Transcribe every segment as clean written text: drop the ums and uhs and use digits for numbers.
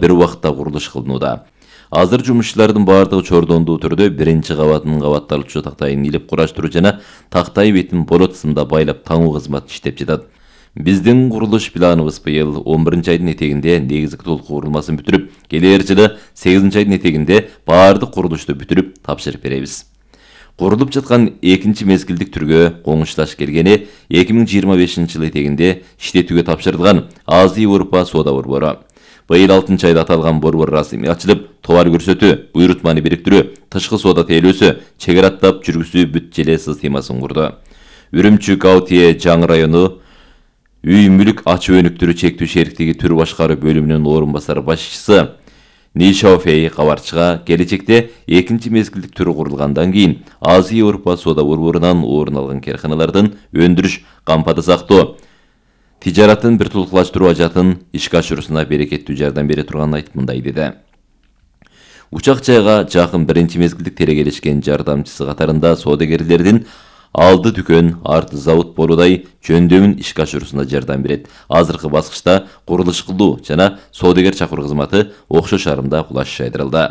бир убакытта курулуш кылынууда. Азыр жумушчулардын бардыгы чордондуу түрдө биринчи кабатынын кабатталуучу тактайын илип кураштыруу жана тактай бетин болот сымда байлап таңуу кызматы иштеп жатат. Биздин курулуш планыбыз быйыл 11-айдын этегинде негизги толук курулмасын бүтүрүп, келер жылы 8-айдын этегинде бардык курулушту бүтүрүп тапшырып беребиз. Курулуп жаткан экинчи мезгилдик түргө коңушташ келгени 2025 жыл этегинде иштетүүгө тапшырылган Азия Европа соода борбору. Быйыл 6-айда аталган борбор расмий ачылып, товар көрсөтүү, буйрутманы бириктирүү, тышкы соода тейлөөсү, чек аттап жүргүзүү бүт желе системасын курду. Үрүмчү Гаутие жаңы району үй мүлүк ачуу өнүктүрүү чектүү шериктиги түр башкаруу бөлүмүнүн орун басары башчысы Нишауфей кабарчыга келечекте экинчи мезгилдик түрү курулгандан кийин Азия Европа соода борборунан орун алган карканалардын өндүрүш, кампада сактоо, тижаратын бир тулкулаштыруу ажатын ишке ашыруусуна берекеттүү жардам бере турганын айтып мындай деди. Учак жайга жакын биринчи мезгилдик терегелешкен жардамчысы катарында соодагерлердин алды дүкөн, арты завод болуудай жөндөмүн ишке ашыруусуна жардам берет. Азыркы баскычта курулуш кылуу жана соодагер чакыруу кызматы окшош арымда кулаш жайдырылды.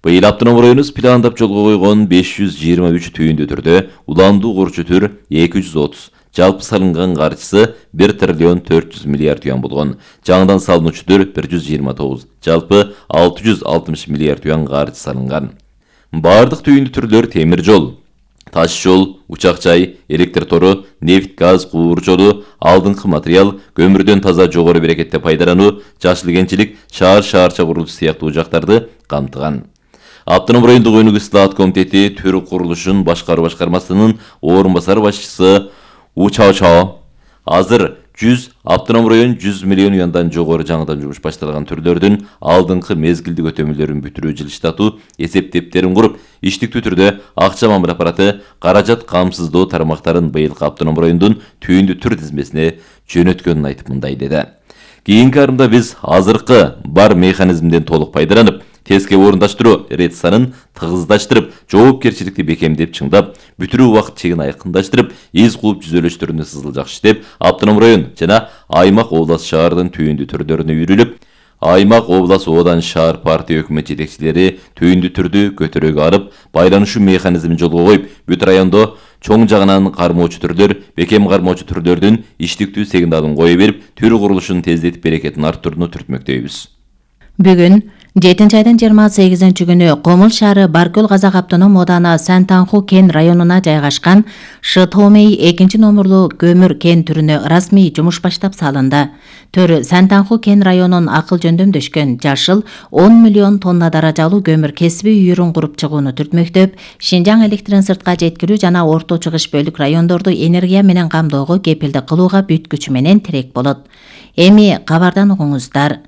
Быйыл автоном районубуз пландап жолго койгон 523 түйүндүү түрдө уландуу курчу түр 230, жалпы салынган каржысы 1 триллион 400 миллиард юан болгон. Жаңыдан салынуучу түр 129, жалпы 660 миллиард юан каржы салынган. Бардык түйүндүү түрлөр темир жол, таш жол, учак жай, электр тору, нефть, газ, куур жолу, алдыңкы материал, көмүрдөн таза жогору берекетте пайдалануу, жашыл кенчилик, шаарча курулушу сыяктуу жактарды камтыган. Автоном райондук өнүгүү ислаат комитети түр курулушун башкаруу башкармасынын орун басары башчысы Учао азыр 100 автоном район 100 миллион юандан жогору жаңыдан жумуш башталган түрлөрдүн алдыңкы мезгилдик өтөмөлөрүн бүтүрүү жылыштатуу эсептептерин куруп, иштиктүү түрдө акча мамиле аппараты каражат камсыздоо тармактарын быйылкы автоном райондун түйүндүү түр тизмесине жөнөткөнүн айтып мындай деди. Кийинки арымда биз азыркы бар механизмден толук пайдаланып, тезге орундаштыруу рет санын тыгыздаштырып, жоопкерчиликти бекемдеп чыңдап, бүтүрүү убакыт чегин айкындаштырып, из кууп жүзөлөштөрүнө сызыл иштеп, автоном район жана аймак облас шаардын түйүндүү түрлөрүнө үйрүлүп, аймак облас оодан шаар партия өкмөт жетекчилери түйүндүү түрдү көтөрүүгө алып, байланышуу механизмин жолго коюп, бүт райондо чоң жагынан кармоочу түрлөр, бекем кармоочу түрлөрдүн иштиктүү сигналын кое берип, түр курулушун тездетип берекетин арттырууну түртмөктөйбүз. Бүгүн 7-айдын 28-күнү Комул шаары Баркөл Казак автоном ооданы Сантанху кен районуна жайгашкан Шытомей 2-номерлуу көмүр кен түрүнө расмий жумуш баштап салынды. Төр Сантанху кен районун акыл жөндөмдөшкөн жашыл 10 миллион тонна даражалуу көмүр кесиби үйүрүн куруп чыгууну түртмөктөп, Шинжаң электрин сыртка жеткирүү жана орто чыгыш бөлүк райондорду энергия менен камдоого кепилдик кылууга бүт күчү менен тирек болот. Эми кабардан угуңуздар.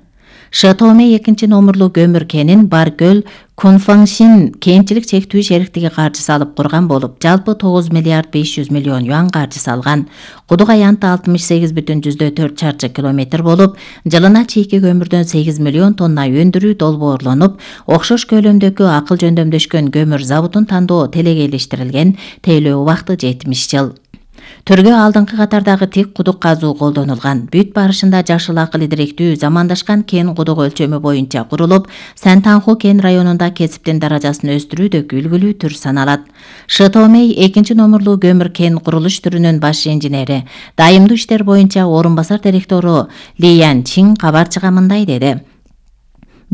Шытомей 2-номерлуу көмүр кенин Баркөл Кунфаңшин кенчилик чектүү шериктиги каржы салып курган болуп, жалпы 9 миллиард 500 миллион юан каржы салган. Кудук аянты 68,4 чарчы километр болуп, жылына чийки көмүрдөн 8 миллион тонна өндүрүү долбоорлонуп, окшош көлөмдөгү акыл жөндөмдөшкөн көмүр заводун тандоо телегейлештирилген, тейлөө убакыты 70 жыл. Түргө алдыңкы катардагы тик кудук казуу колдонулган. Бүт барышында жашыл акыл идиректүү замандашкан кен кудук өлчөмү боюнча курулуп, Сантанху кен районунда кесиптин даражасын өстүрүүдө үлгүлүү түр саналат. Шытомей 2-номерлуу көмүр кен курулуш түрүнүн баш инженери, дайымдуу иштер боюнча орун басар директору Ли Ян Чин кабарчыга мындай деди.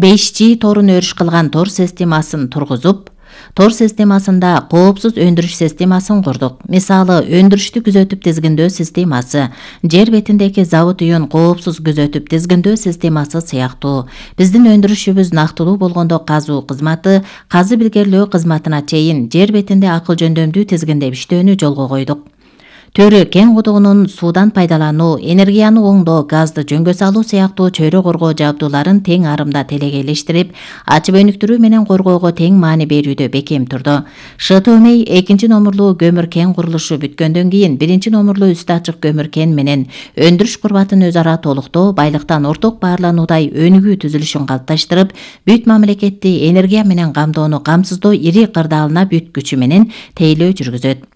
5G торун өрүш кылган тор системасын тургузуп, тор системасында коопсуз өндүрүш системасын курдук. Мисалы, өндүрүштү күзөтүп тизгиндөө системасы, жер бетиндеги завод үйүн коопсуз күзөтүп тизгиндөө системасы сыяктуу. Биздин өндүрүшүбүз нактылуу болгондо казуу кызматы, казы билгерлөө кызматына чейин жер бетинде акыл жөндөмдүү тизгиндеп иштөөнү жолго койдук. Төрү кен кудугунун суудан пайдалануу, энергияны оңдоо, газды жөнгө салуу сыяктуу чөйрө коргоо жабдууларын тең арымда телегейлештирип, ачып өнүктүрүү менен коргоого тең маани берүүдө бекем турду. Шытомей 2-номерлуу көмүр кен курулушу бүткөндөн кийин 1-номерлуу үстү ачык көмүр кен менен өндүрүш курбатын өз ара толуктоо, байлыктан орток баарлануудай өнүгүү түзүлүшүн калыпташтырып, бүт мамлекетти энергия менен камдоону камсыздоо ири кырдаалына бүт күчү менен тейлөө жүргүзөт.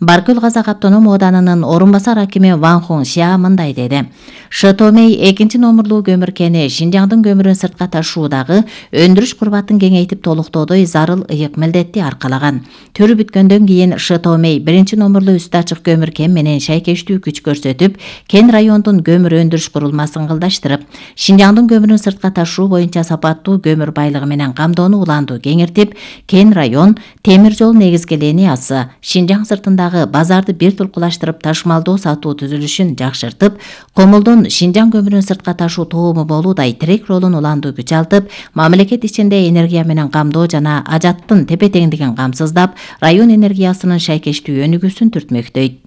Баркөл Казак автоном ооданынын орун басар акими Ван Хун Xia мындай деди. Шытомей 2-номурлуу көмүр кени Шинжаңдын көмүрүн сыртка ташуудагы өндүрүш курбатын кеңейтип толуктоодой зарыл ыйык милдетти аркалаган. Төрү бүткөндөн кийин Шытомей 1-номурлуу үстү ачык көмүр кен менен шайкештүү күч көрсөтүп, Кен райондун көмүр өндүрүш курулмасын кылдаштырып, Шинжаңдын көмүрүн сыртка ташуу боюнча сапаттуу көмүр байлыгы менен камдоону уланду кеңиртип, Кен район темир жол негизги линиясы Шинжаң сыртындагы базарды бир тулкулаштырып ташмалдоо сатуу түзүлүшүн жакшыртып, Комулдун Шинжаң көмүрүн сыртка ташуу тоому болуудай тирек ролун уланду күч алтып, мамлекет ичинде энергия менен камдоо жана ажаттын тепе-теңдигин камсыздап, район энергиясынын шайкештүү өнүгүүсүн түртмөктөйт.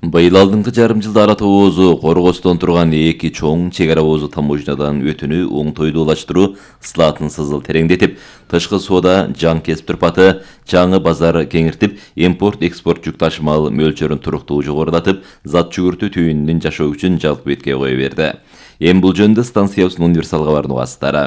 Быйыл алдыңкы жарым жылда ара тоозу коргостон турган эки чоң чек ара оозу таможнядан өтүүнү оңтойдуулаштыруу слатын сызыл тереңдетип, тышкы соода жаң кесип турпаты, жаңы базар кеңиртип, импорт-экспорт жүк ташымал мөлчөрүн туруктуу жогорулатып, зат жүгүртүү түйүнүнүн жашоо күчүн жалпы бетке кое берди. Эми бул жөнүндө станциябыздын универсал кабарынын угасыздары.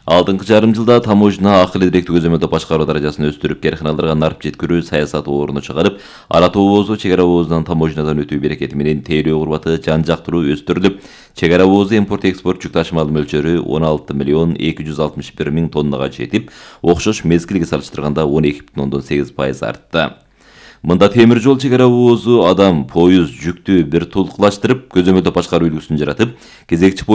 Алдыңкы жарым жылда таможня акыл идиректүү көзөмөлдөө башкаруу даражасын өстүрүп, керканаларга нарып жеткирүү саясаты орну чыгарып, ара тоозу чек ара оозунан таможнядан өтүү берекети менен тейлөө курбаты жан жактыруу өстүрүлүп, чек ара оозу импорт-экспорт жүк ташымал мөлчөрү 16.261.000 тоннага жетип, окшош мезгилге салыштырганда 12,8% артты. Мында темир жол чек ара оозу адам, поезд, жүктү бир тулкулаштырып, көзөмөлдөө башкаруу үлгүсүн жаратып, кезекчи